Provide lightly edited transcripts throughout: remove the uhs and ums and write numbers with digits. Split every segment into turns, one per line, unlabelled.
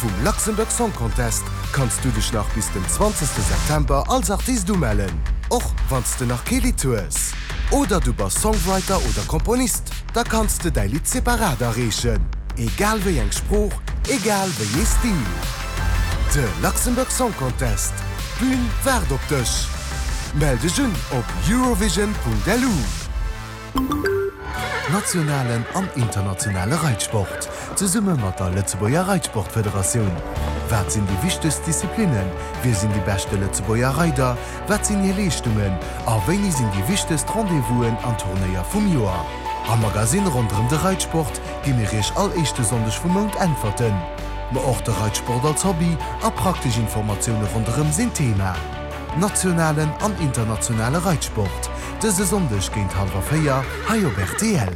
vum Luxembourg Song Contest kanns du dech nach bis den 20 September als Artist umellen, och wann s de nach kee Lidd hues. Oder du bass Songwriter oder Komponist, da kanns de däi Lidd separat areechen, egal wéi eng Sprooch, egal wéi ee Stil. De Luxembourg Song Contest, d'Bün waart op dech! Mell dech un op eurovision.lu. Nationalen an internationale Reitsport, zesumme mat der Lëtzebuerger Reitsportfederatioun. Wat sinn déi wichtegst Disziplinnen, wie sinn déi beschte Lëtzebuerger Reider, wat sinn hir Leeschtungen a wéini sinn déi wichtegst Rendez-vousen an Turnéier vum Joer? Am Magasinn ronderëm de Reitsport gi mir Iech all éischte Sonndeg vum Mount Äntwerten. Ma och de Reitsport als Hobby a praktesch Informatioune ronderëm sinn Thema. Nationalen an internationale Reitsport, dëse Sonndeg géint hallwer 4 hei op rtl.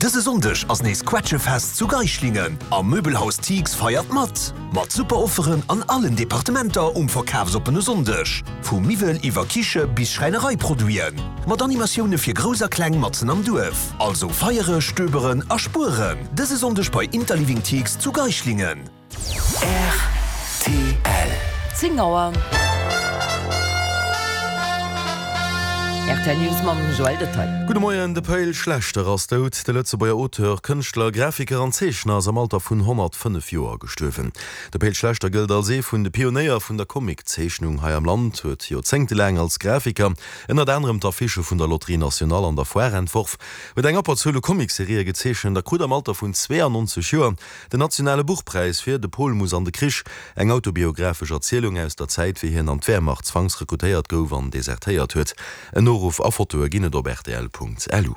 Dëse Sonndeg ass nees Quetschefest zu Geischlingen a Möbelhaus Thix feiert mat! Mat super Offeren an allen Departementer um verkafsoppene Sonndeg. Vu Miwwel iwwer Kiche bis Schräinereiproduiten. Mat Animatioune fir Grouss a Kleng matzen am Duerf. Also feiere, stöberen a spueren dëse Sonndeg bei Interliving Thix zu Geischlingen.
Rtl.
10 Auer. Rtl News mam Joël Detaille.
Gudde Moien, De Pe'l Schlechter ass dout. De Lëtzebuerger Auteur, Kënschtler, Grafiker an Zeechner ass am Alter vun 105 Joer gestuerwen. De Pe'l Schlechter gëllt als ee vun de Pionéier vun der Comic-Zeechnung hei am Land, huet joerzéngtelaang als Grafiker ënnert anerem d'Affichë vun der Loterie Nationale an der Foire entworf, huet eng Abberzuel u Comic-Serië gezeechent a krut am Alter vun 92 Joer Den nationale Buchpräis fir De Pol muss an de Krich, eng autobiographesch Erzielung aus der Zäit, wéi hien an d'Wehrmacht zwangsrekrutéiert gouf an desertéiert huet. En Noruff a Fotoe ginn et op rtl.lu.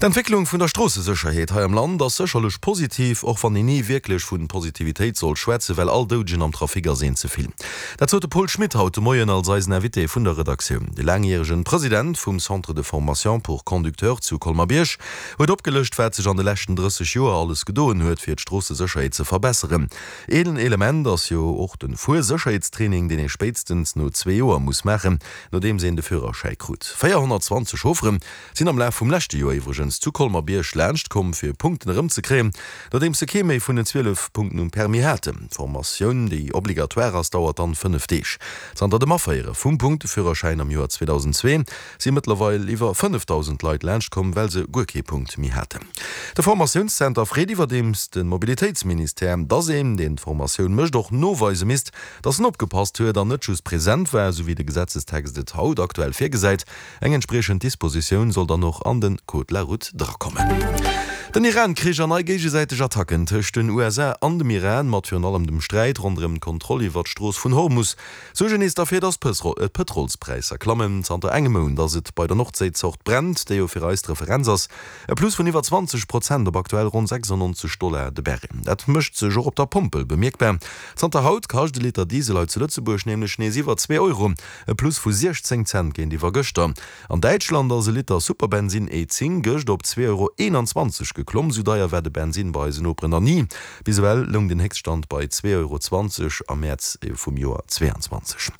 D'Entwécklung vun der Stroossesécherheet hei am Land ass sécherlech positiv, och wann een ni wierklech vu Positivitéit soll schwätzen, well all Doudegen am Trafic ass een ze vill. Dat sot de Paul Schmit haut de Moien als eisen Invité vun der Redaktioun. De laangjäregen President vum Centre de formation pour conducteurs zu Colmer-Bierg Huet opgelëscht, wat sech an de leschten 30 Joer alles gedoen huet, fir d'Stroossesécherheet ze verbesseren. Een Element ass jo och de Fuersécherheetstraining, deen ee spéitstens no zwee Joer muss maachen, nodeems een de Führerschäi krut. 420 Chauffere sinn am Laf vum leschte Joer iwwregens zu Colmer-Bierg laanscht komm, fir Punkten erëmzekréien, nodeems se kee méi vun den 12 Punkten um Permis haten. D'Formatioun, déi obligatoire ass, dauert dann 5 Deeg. Zanter dem Aféiere vum Punkteführerschäin am Joer 2002 si mëttlerweil iwwer 5.000 Leit laanscht komm, well se guer kee Punkt méi haten. De Formatiounszenter freet iwwerdeems de Mobilitéitsministère, dass een, deen d'Formatioun mécht, och noweise misst, dass en opgepasst huet an net just present war, esou wéi de Gesetzestext et haut aktuell virgesäit. Eng entspriechend Dispositioun soll dann och an de Code de la route drakommen. Den Iran-Krich an nei géigesäiteg Attacken tëscht den USA an dem Iran, mat virun allem dem Sträit ronderëm d'Kontroll iwwer d'Strooss vun Hormus, Suergen nees derfir, dass d'Pëtrolspräisser klammen. Zanter engem Mount ass et bei der Nordséizort Brent, déi jo fir eis d'Referenz ass, e Plus vun iwwer 20 Prozent op aktuell ronn 96 Dollar de Barrel. Dat mécht sech och op der Pompel bemierkbar. Zanter haut kascht e Liter Diesel hei zu Lëtzebuerg nämlech nees iwwer zwee Euro, e Plus vu 16 Cent géintiwwer gëschter. An Däitschland ass e Liter Superbensinn E10 gëscht op 2,21 Euro geklomm. Sou deier war de Bensinn bei eisen Noperen nach ni. Bis ewell loung den Héchststand bei 2,20 Euro am Mäerz vum Joer 22.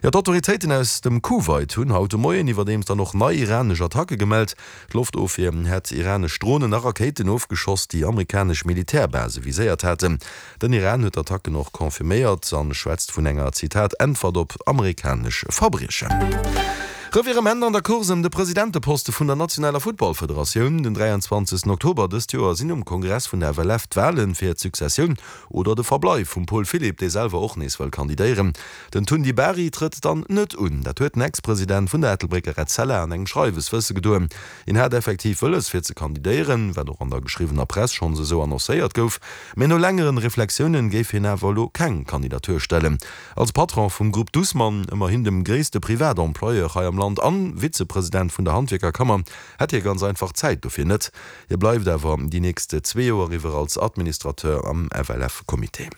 Jo, d'Autoritéiten aus dem Kuwait hunn haut de Moien iwwerdeems dann och nei iranesch Attacke gemellt. D'Loftofwier hätt iranesch Dronen a Rakéiten ofgeschoss, déi amerikanesch Militärbase viséiert haten. Den Iran huet d'Attacken och confirméiert an schwätzt vun enger, Zitat, Äntwert op amerikanesch Verbriechen. Revirement an der Course ëm de Presidenteposte vun der nationaler Futtballfederatioun. Den 23 Oktober dëst Joer sinn um Kongress vun der FLF d'Wale fir d'Successioun oder de Verbleif vum Paul Philipp, dee selwer och nees wëll kandidéieren. Den Tundi Bari trëtt dann net un. Dat huet den Ex-President vun der Ettelbrécker Etzella an engem Schreiwes wësse gedoen. Hien hat effektiv wëlles fir ze kandidéieren, wat och an der geschriwwener Press schonns esou annoncéiert gouf, mee no längeren Reflexiounen géif hien awer elo keng Kandidatur stellen. Als Patron vum Grupp Dussmann, ëmmerhin dem gréisste Privatemployeur hei am Land, an Vizepresident vun der Handwierkerkammer, hätt hie ganz einfach d'Zäit dofir net. Hie bleift awer déi nächst zwee Joer iwwer als Administrateur am FLF-Comité.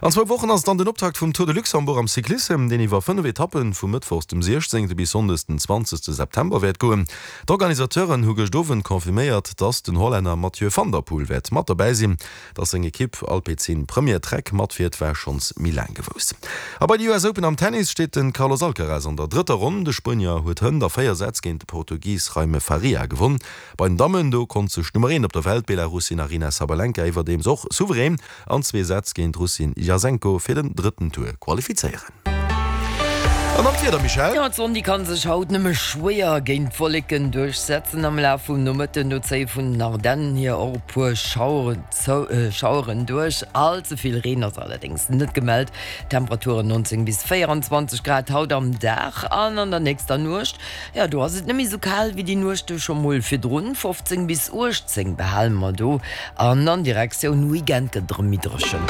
An zwou Wochen ass et dann den Optakt vum Tour de Luxembourg am Cyclissem, deen iwwer 5 Etappen vu mëttwochs dem 16. bis sonndes den 20. September wäert goen. D'Organisateuren hu gëscht Owend confirméiert, dass den Hollänner Mathieu van der Poel wäert mat dobäi sinn. Dass seng Ekipp Alpecin Premier Trek matfiert, war schonns méi laang gewousst. A bei de US Open am Tennis steet de Carlos Alcaraz an der drëtter Ronn. De Spuenier huet hënt a 4 Sätz géint de Portugis Jaime Faria gewonn. Bei den Dammen, do konnt sech d'Nummer 1 op der Welt, d'Belarussin Aryna Sabalenka iwwerdeems och souverän an zwee Sätz géint d'Russin Jasenko fir den drëtten Tour qualifizéieren. An dann d'Wieder, Michèle?
Jo, d'Sonn déi kann sech haut nëmme schwéier géint d'Wolleken duerchsetzen. Am Laf vum Nomëtten do zéie vun den Ardennen hier och e puer Schaueren duerch. All ze vill Reen ass allerdéngs net gemellt. Temperaturen 19 bis 24 Grad haut am Dag an an der nächster Nuecht. Jo, do ass et net méi sou kal wéi déi Nuechte scho mol virdrun, 15 bis 18 behale mer do an an Direktioun Weekend gëtt et erëm méi dréchen.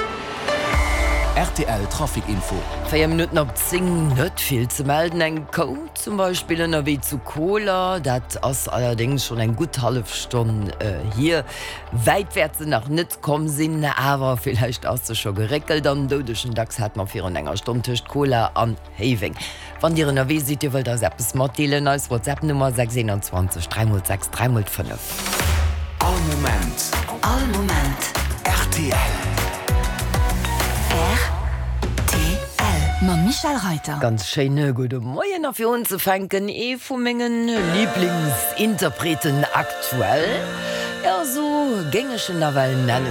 Rtl Trafic Info.
4 Minutten op 10, net vill ze melden. Eng Kou zum Beispill ënnerwee zu Koler, dat ass allerdéngs schonn eng gutt hallef Stonn hier. Wäit wäert se nach net komm sinn, awer villäicht ass se scho geréckelt. An doudegen Dachs hat mer virun enger Stonn tëscht Koler an Héiweng. Wann Dir ënnerwee sidd, Dir wëllt eis eppes matdeelen, eis WhatsApp Nummer 621 3 x 6 3 x 5.
All Moment.
All Moment.
Rtl.
Rtl. Mam Michèle Reiter.
Ganz schéine gudde Moien a fir unzefänken ee vu mengen Liblingsinterpreten aktuell, jo sou géing ech en nawell nennen.